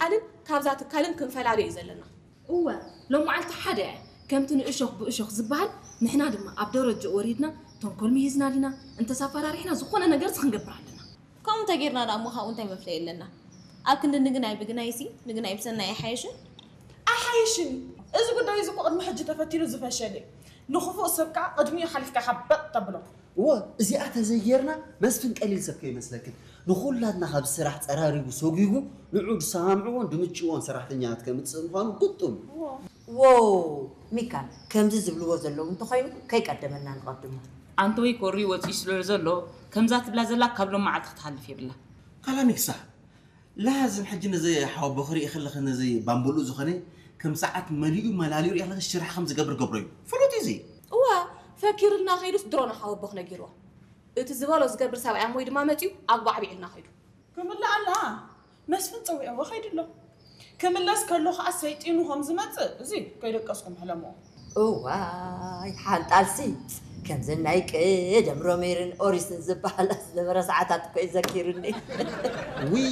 ትካልን ካብዛ ትካልን ክንፈላልዮ እዩ ዘለና። እወ፣ ሎም መዓልቲ ሓደ እያ። ከምቲ ንእሾኽ ብእሾኽ ዝበሃል፣ ንሕና ድማ ኣብ ደረጃ ወሪድና፣ ተንኮል ምሂዝና ዲና፣ እንተስ ኣፈራሪሕና ዝኾነ ነገርስ ክንገብር ኣለና። ከምኡ እንተጌርና ደኣ እሞ ካብኡ እንታይ መፍለይ ኣለና? ኣብ ክንዲ ንግናይ ብግናይሲ፣ ንግናይ ብሰናይ ኣይሓይሽን? ኣይሓይሽን እዩ። እዚ ጉዳይ እዚ እኮ ቅድሚ ሕጂ ተፈቲኑ ዝፈሸለ እዩ። ንኽፉእ ሰብ ከኣ ቅድሚኡ ሓሊፍካ ኢኻ በጥ ተብሎ። እወ፣ እዚኣ ተዘይጌርና መስፍን ቀሊል ሰብ ከይመስለክን። ንኹላትና ካብ ስራሕ ጸራሪጉ ሰጒጉ ንዑ ዝሰማምዕዎን ድምችዎን ሰራሕተኛታት ከምጽእ ምዃኑ ግጡም እዩ። እወ። ዎው! ሚካል፣ ከምዚ ዝብልዎ ዘለዉ እንተኾይኑ ከይቀደመና ንቐድሞ። ኣንተ ወይ ኮሪ ወጺኡ ስለ ዘሎ ከምዛ ትብላ ዘላ ካብ ሎም መዓልቲ ክትሃልፍ የብላ። ካላሚክሳ፣ ላዝም ሕጂ ነዚ ሓወቦ ክርኢ ከለኺ ነዚ ባምቡሉ ዝኾነ ከም ሰዓት መሊኡ መላሊኡ ሪኢ ከለኺ ሽራሕ ከም ዝገብር ገብሮ እዩ። ፍሉጥ እዩ እዚ። እዋ፣ ፈኪሩልና ከይዱስ ድሮ ንሓወቦኽ ነጊርዎ። እቲ ዝበሎ ዝገብር ሰብኣይ ኣሞይ ድማ መጺኡ ኣጉባዕቢዕልና ከይዱ። ክምልእ ኣላ። መስፍን ጸዊዕዎ ከይዱ ኣሎ። ክምለስ ከሎ ኸኣ ሰይጢኑ ከም ዝመጽእ እዚ ከይደቀስኩም ሕለምዎ። እዋይ ሓንጣልሲ ከምዘን ናይ ቀደም ሮሜርን ኦሪስን ዝበሃላ ዝነበረ ሰዓታት እኮ እዩ ዘኪሩኒ። ውይ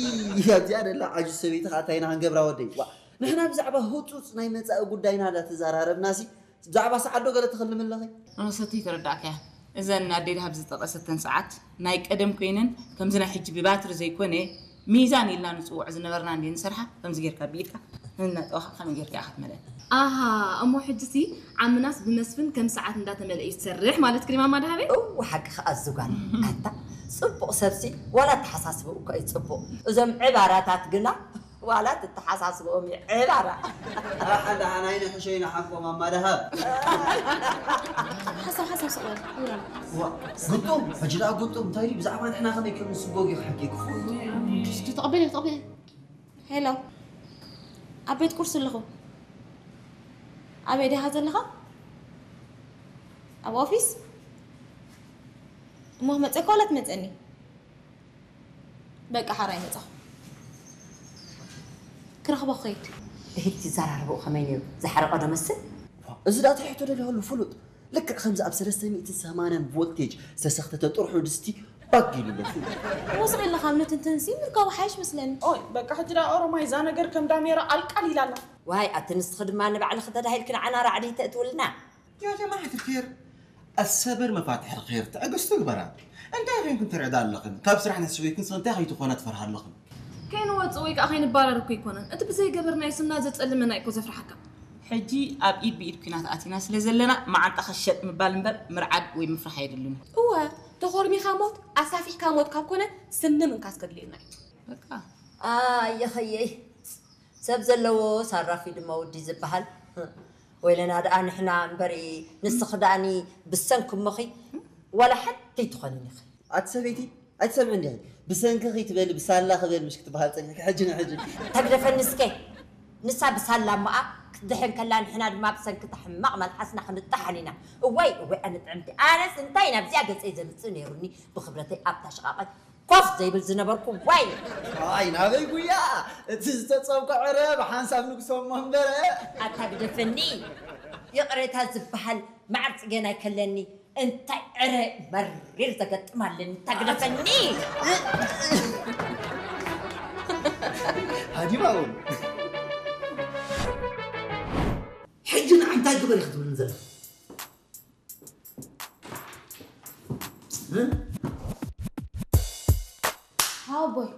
ኣብዚኣ ደላ ዓጁዝ ሰበይቲ ኸኣ እንታይ ኢና ክንገብራ ወደይ? ዋ ንሕና ብዛዕባ ህጹጽ ናይ መጻኢ ጉዳይና ዳተዛራረብናሲ ብዛዕባ ሰዓት ዶ ገለ ትኽልሚ ኣለኺ? ኣነ ሰተይ ተረዳእካያ። እዘን ኣደይ ደሃብ ዝጠቐሰተን ሰዓት ናይ ቀደም ኮይነን ከምዚ ናይ ሕጂ ብባትሪ ዘይኮነ ሚዛን ኢልና ንጽውዖ ዝነበርና እንድየ ንሰርሓ። ከምዚ ጌርካ ብኢድካ እናጠወኻ ከመይ ጌርካ ኢኻ ትመልአን? ኣሃ እሞ ሕጂሲ ዓምናስ ብመስፍን ከም ሰዓት እንዳተመልአ እዩ ዝሰርሕ ማለት ክሪማማ ደሃበይ? እው ሓቂ ከኣ ዝጓል ኣታ ጽቡቕ ሰብሲ ዋላ ኣተሓሳስብኡ እኮ እዩ ጽቡቕ እዞም ዕባራታት ግና ዋላ ትተሓሳስብኦም ይዕባራ። ኣሓ ደሓን ኣይንሕሸይ ንሓቆም ኣማደሃብ። ሓሳብ ሓሳብ ስቕ በል። ዋ፣ ግጡም፣ ሕጂ ደኣ ግጡም፣ እንታይ ድዩ ብዛዕባ ንሕና ከመይ ከም ንስጎግ እዩ ክሕጊ ክፉ። ተቐበል፣ ተቐበል። ሄሎ፣ ኣብ ቤት ቁርሲ ኣለኹ። ኣበይ ዲኻ ዘለኻ? ኣብ ኦፊስ? እሞ ክመጸካ ዋላ ትመጸኒ? በቃ ሓራይ መጻኹ። ክረኽቦ ክኸይድ። ብሂድ ትዘራረብኡ ከመይ ነይሩ? ዝሓረቐ ዶ መስል? እዚ ደኣ እንታይ ሕቶ ደሊኹሉ ፍሉጥ? ልክዕ ከምዚ ኣብ ሰለስተ ሚእትን ሰማንያን ቮልቴጅ ዝተሰኽተተ ጥርሑ ድስቲ ባግ ኢሉ ኣሎ ፍሉጥ። እሞ ስቕ ኢልና ካብ ንትንትንሲ ምርካቡ ሓይሽ መስለኒ። ኦይ በቃ ሕጂ ደኣ ኦሮማይ እዛ ነገር ከም ዳሜራ ኣልቃል ኢላ ኣላ። ዋይ ኣቲ ንስኺ ድማ ንባዕልኺ ተዳሂልኪ ንዓና ራዕዲ ተእትውልና። يا جماعة الخير، الصبر مفاتيح الخير، ትዕግስቲ ግበራ። እንታይ ኮይንክን ትርዕዳ ኣለኽን? ካብ ስራሕ ነስበይክን ስቕ እንታይ ከይትኾና ትፈርሃ ኣለኽን? ከይንወጽእ ወይ ከኣ ከይንባረር እኮ ኣይኮነን። እቲ ብዘይገበርናዮ ስምና ዘጸልመና እዩ እኮ ዘፍርሓካ። ሕጂ ኣብ ኢድ ብኢድ ኲናት ኣቲና ስለ ዘለና መዓንጣ ከሸጥ ምባል እምበር ምርዓድ ወይ ምፍራሕ ኣየድልን እዩ። እወ፣ ተኾርሚኻ ሞት፣ ኣሳፊሕካ ሞት ካብ ኮነ ስኒ ምንካስ ከድልየና እዩ። በቃ። ኣየኸየይ፣ ሰብ ዘለዎ ሳራፊ ድማ ወዲ ዝበሃል። ወይለና ደኣ ንሕና እምበሪ ንስኺ ደኣኒ ብሰንኪ እሞኺ ዋላ ሓንቲ ኣይትኾንን ኢኺ። ኣቲ ሰበይቲ ኣይትሰምዕን ዲኺ? ብሰንኪኺ ትበሊ ብሳላ ክበል ምሽ ክትበሃል ጸኒሕኪ ሕጂ ንሕጂ። ተግደፈኒ እስከ። ንሳ ብሳላ እሞኣ ክትድሕን ከላ ንሕና ድማ ብሰንኪ እታ ሕማቕ መልሓስና ክንጠሓን ኢና። እዋይ እዋይ ኣነ ጥዕምቲ ኣነስ እንታይ ናብዚኣ ገጸይ ዘምጽእ ነይሩኒ ብኽብረተይ ኣብታ ሽቓቐይ ኮፍ ዘይብል ዝነበርኩ ዋይ። ኣይ ናበይ ጉያ እቲ ዝተጸብቀ ዕረ ብሓንሳብ ንግሶ እሞ እምበረ። ኣታ ግደፈኒ ይቕሬታ ዝበሃል ማዕር ጽገና ይከለኒ እንታይ ዕረ መሪር ዘገጥም ኣለኒ እታ ግደፈኒ። ሃዲማ እውን ሕጂ ንዓ እንታይ ግበር ኢኺ ትብልኒ ዘለኺ? ሃቦይ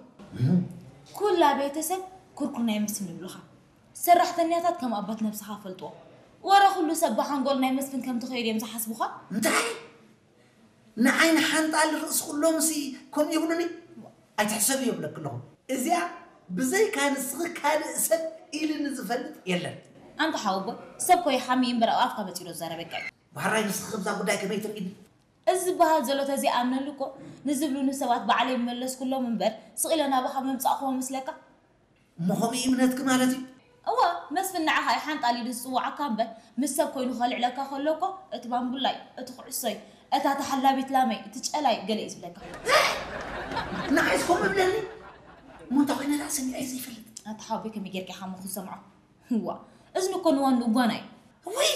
ኩላ ቤተሰብ ኩርኩር ናይ መስፍን ይብሉኻ። ሰራሕተኛታት ከም ኣባት ነብስኻ ፈልጥዎ። ወረ ኩሉ ሰብ ብሓንጎል ናይ መስፍን ከም ትኸይድ እዮም ዝሓስቡኻ። እንታይ? ንዓይ ንሓንጣል ርእሲ ኩሎምሲ ከምኡ ይብሉኒ? ኣይትሕሰቢ ይብለኪ ኣለኹ። እዚኣ ብዘይካ ንስኺ ካልእ ሰብ ኢልኒ ዝፈልጥ የለን። ኣንታ ሓወቦይ ሰብ ኮ ይሓሚ እምበር ኣብ ኣፍካ መጺኡ ዶ ዝዛረበካ እዩ። ዋራይ ንስኺ ከምዛ ጉዳይ ከመይ ትርእይኒ? እዚ ዝበሃል ዘሎ ተዘይኣምነሉ እኮ ንዝብሉኒ ሰባት ባዕለይ ምመለስኩሎም እምበር ስቕ ኢለ ናባኻ ምምጻእኩዎ መስለካ? እሞ ከምኡ እዩ እምነትኪ ማለት እዩ? እወ መስፍን ንዓኻ እዩ ሓንጣል ኢሉ ዝጽውዓካ እምበር ምስ ሰብ ኮይኑ ከልዕለካ ከሎ እኮ እቲ ባምቡላይ፣ እቲ ኩዕሶይ፣ እታ ተሓላቢት ላመይ፣ እቲ ጨላይ ገለ እዩ ዝብለካ። ንዓይስ ከምኡ ይብለኒ? እሞ እንታይ ኮይነ ደኣ ሰሚዐዮ ዘይፈልጥ? ኣታ ሓወቦይ ከመይ ጌርካ ኢኻ እሞ ክትሰምዖ? እዋ እዝኒ እኮ ንዋንኡ ጓና እዩ። እውይ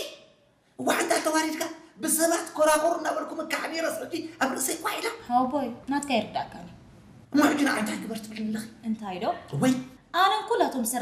እዋዕ እንዳ ተዋሪድካ ብሰባት ኮራኹር እናበልኩ ምካሕ ነይረስ ሕጂ ኣብ ርእሰይ ኳሕ ኢላ። ሓወቦይ ናትካ ኣይርዳእካን እዩ። እሞ ሕጂ ንዓ እንታይ ግበር ትብልኒ ኣለኺ? እንታይ ዶ? ወይ ኣነን ኩላቶም